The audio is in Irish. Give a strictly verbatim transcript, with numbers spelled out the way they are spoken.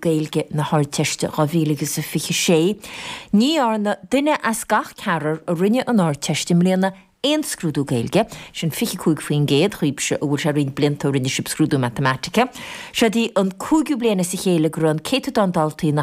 Gaeilge na hArdteiste dhá mhíle agus a fiche sé. Ní dhearna duine as gach ceathrar a rinne an Ardteist i mbliana aon scrúdú Gaeilge, sin fiche cúig faoin gcéad dhaoibhse a bhfuil sé roinnt blianta ó rinne sibh scrúdú matamaitice. Seo í an cúigiú bliain as a chéile go raibh an céatadán daltaí nach